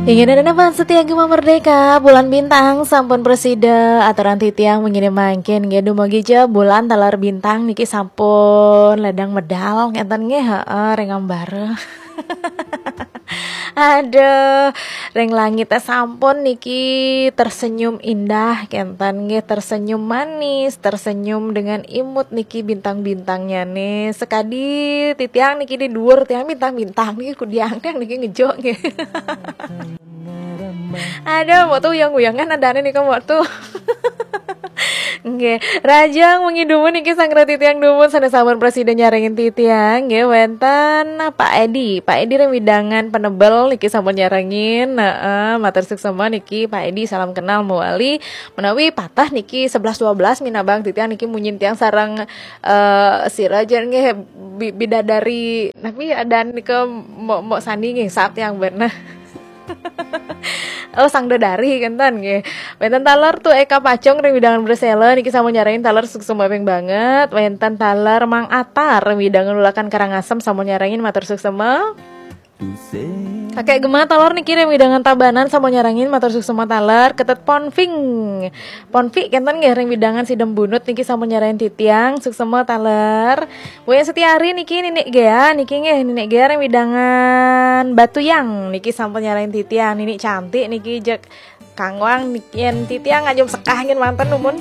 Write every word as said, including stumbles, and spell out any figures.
Inggih, ida dané pan setia Gema Merdeka, bulan bintang sampun prasida, aturan titiang mangkin mangkin nggih, dumugi ja bulan taler bintang niki sampun ledang medal ngénten nggih, heeh, ring ambara. Aduh, ring langit sampun niki tersenyum indah kénten nggih, tersenyum manis, tersenyum dengan imut niki bintang-bintangnya nih. Sekadi titiang niki di dhuwur tiang bintang-bintang niki kudiang tiang niki ngejuk nggih. Aduh, waktu uyang-uyangan adané nika waktu. Nggih, rahajeng wengi dumun niki sang reti tiang dumun sané sampun prasida nyarengin titiang nggih, wénten Pak Edi. Pak Edi ring wewidangan Penebel niki sampun nyarengin. Heeh, matur suksma niki Pak Edi, salam kenal mawali. Menawi patah niki sebelas dua belas minabang titiang niki munyin tiang sareng, eh, sira ja nggih, bi-, bidadari napi adan nika Mbok, Mbok Sandi nggih, sap tiang bener. Oh, sang dedari kénten nggih. Wénten taler Tu Eka Pacung ring wewidangan Persela niki sampun nyarengin taler suksma banget. Wénten taler Mang Atar ring wewidangan Ulakan Karangasem sampun nyarengin, matur suksma. Kakek Gema taler niki ring wewidangan Tabanan sampun nyarengin, matur suksma taler. Ketet Ponfing. Ponfi kénten nggih ring wewidangan Sidembunut niki sampun nyarengin titiang, suksma taler. Wayan Setiari niki Ninik Gea niki nggih, Ninik Gea ring wewidangan Batuyang niki sampun nyarengin titiang, Ninik cantik niki jeg kangwang niki yén titiang ngajum sekah nggih manten numun.